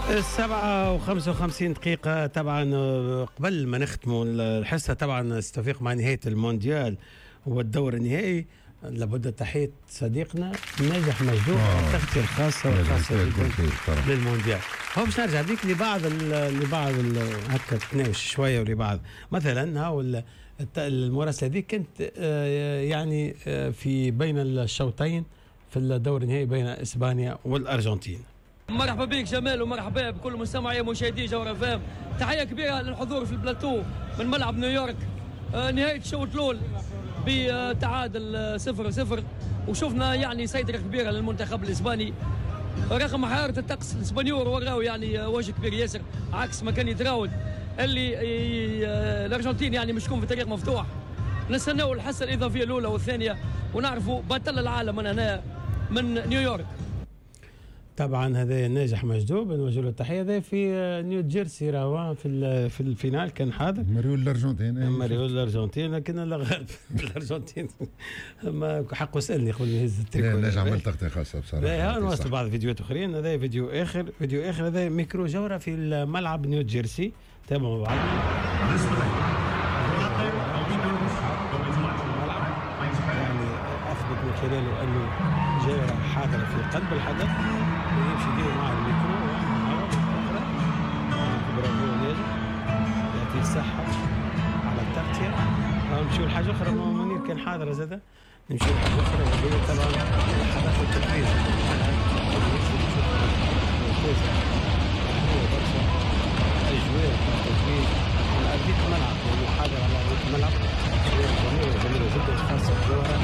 7:55. طبعا قبل ما نختموا الحصة، طبعا استفيق مع نهاية المونديال والدور النهائي، لابد تحية صديقنا ناجح مجدوب التغطية الخاصة والخاصة جدا للمونديال. هو باش نرجع بيك لبعض هكا تناوش شوية، ولبعض مثلا هاو المراسلة هذه كانت يعني في بين الشوطين في الدور النهائي بين اسبانيا والارجنتين. مرحبا بك جمال، ومرحبا بكل مستمعي ومشاهدي جوهرة اف ام. تحية كبيرة للحضور في البلاتو من ملعب نيويورك. نهاية الشوط الاول بتعادل 0-0، وشفنا يعني سيطرة كبيرة للمنتخب الاسباني رغم حرارة الطقس. الاسبانيور وراو يعني وجه كبير ياسر عكس ما كان يتراود اللي الارجنتين يعني مش في طريق مفتوح. نستناو الحصة الاضافية الاولى والثانية ونعرفوا بطل العالم من هنا من نيويورك. طبعا هذا ناجح مجدوب، نوجه له التحيه. هذا في نيو جيرسي، راهو في ال finale كان حاضر. مريول الارجنتين. مريول الارجنتين، لكن الله غالب الارجنتين ما حقه سالني قبل ما يهز التريكو. لا، ناجح عمل تغطيه خاصة بصراحه. نواصل بعض فيديوهات اخرين. هذا فيديو اخر، فيديو اخر، هذا ميكرو جوهره في الملعب نيو جيرسي. تابعوا مع بعض الملعب، يعني اثبت من خلاله انه جوهره حاضره في قلب الحدث، ويمشي ديما مع الميكرو. اخرى، برافو ناجح، يعطيه الصحة على التغطية. نمشيو لحاجة أخرى، منير كان حاضر زادة. نمشيو لحاجة أخرى، وهي طبعا لحظات التتويج. ممتازة، برشا أجواء التتويج على أرضية الملعب، لأنه حاضر على أرضية الملعب. جميلة، جميلة جدا، خاصة الجوهرة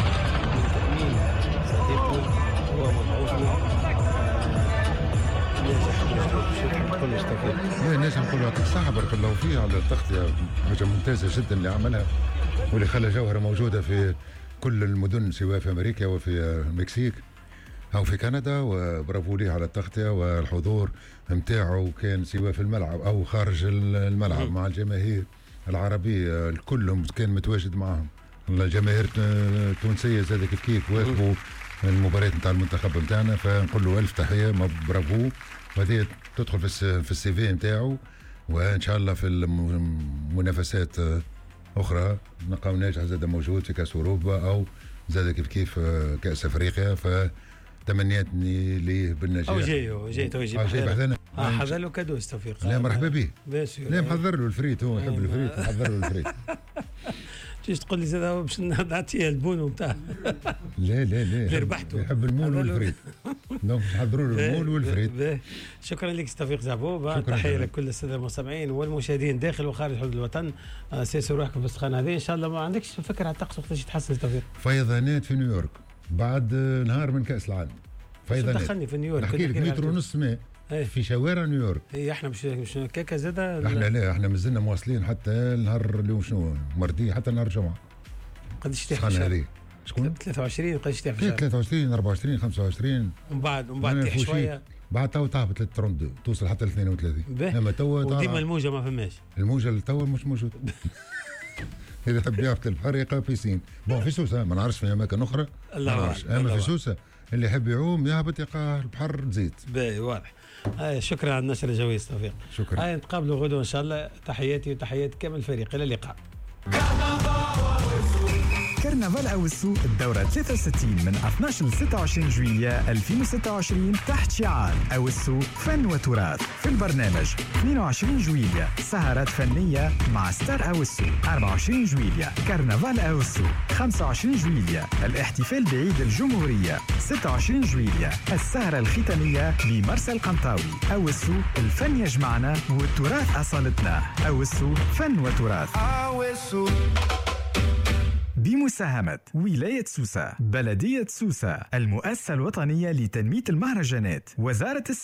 من تأمين صديقنا ومبعوثنا ناجح مجدوب. شو تحب تقول توفيق؟ لا، ناجح نقول يعطيك الصحة، بارك الله فيه على التغطية، حاجة ممتازة جدا اللي عملها واللي خلى جوهرة موجودة في كل المدن، سواء في أمريكا وفي المكسيك أو في كندا. وبرافو ليه على التغطية والحضور نتاعو، كان سواء في الملعب أو خارج الملعب مع الجماهير العربية، الكل كان متواجد معهم. الجماهير التونسية زاد كيف كيف واكبوا المباريات نتاع المنتخب نتاعنا، فنقول له ألف تحية، برافو. وهذه تدخل في ال CV نتاعو، وان شاء الله في المنافسات اخرى نلقاو ناجح زاد موجود في كاس اوروبا او زاد كيف كيف كاس افريقيا، فتمنياتني ليه بالنجاح. او جاي جاي تو يجي. جاي بحذانا. حضر له cadeau توفيق. لا، مرحبا به. لا، محضر له الفريت، هو يحب الفريت، محضر له الفريت. تيجي تقول لي زاد باش نعطيه ال bon نتاع لا لا لا. اللي ربحته. يحب ال moules وال frites، donc نحضروا له ال moules وال frites. شكرا لك توفيق زعبوب. تحية لكل السادة المستمعين والمشاهدين داخل وخارج حدود الوطن. سيسوا روحكم في السخانه هذه. ان شاء الله ما عندكش فكرة على الطقس وقتاش يتحسن توفيق؟ فيضانات في نيويورك بعد نهار من كاس العالم. فيضانات دخلني في نيويورك. نحكي لك متر ونص ماء في شوارع نيويورك. اي، احنا مش كاكا زاد. احنا لا، احنا مازلنا مواصلين حتى النهار اليوم شنو mardi، حتى نهار الجمعة. قداش تيح في هذه؟ شكون؟ 23، قداش تيح في 23، 24، 25. ومن بعد تيح شويه. بعد تو تهبط ل 32، توصل حتى ل 32. اما تو وديما الموجه ما فماش. الموجه اللي تو مش موجود. اذا تحب يهبط البحر يلقى piscine. bon، في سوسة ما نعرفش في اماكن اخرى. الله. اما في سوسة اللي يحب يعوم يهبط يلقى البحر تزيد. باهي، واضح. شكرا على النشر الجوي توفيق. شكرا. هاي نتقابلوا غدوه ان شاء الله. تحياتي وتحيات كامل الفريق، الى اللقاء. كرنفال أوسو الدورة 63 من 12 ل 26 جويلية 2026 تحت شعار أوسو فن وتراث. في البرنامج: 22 جويلية سهرات فنية مع ستار أوسو، 24 جويلية كرنفال أوسو، 25 جويلية الاحتفال بعيد الجمهورية، 26 جويلية السهرة الختامية بمرسى القنطاوي. أوسو، الفن يجمعنا والتراث أصالتنا. أوسو فن وتراث. أوسو بمساهمة ولاية سوسة، بلدية سوسة، المؤسسة الوطنية لتنمية المهرجانات، وزارة السياحة.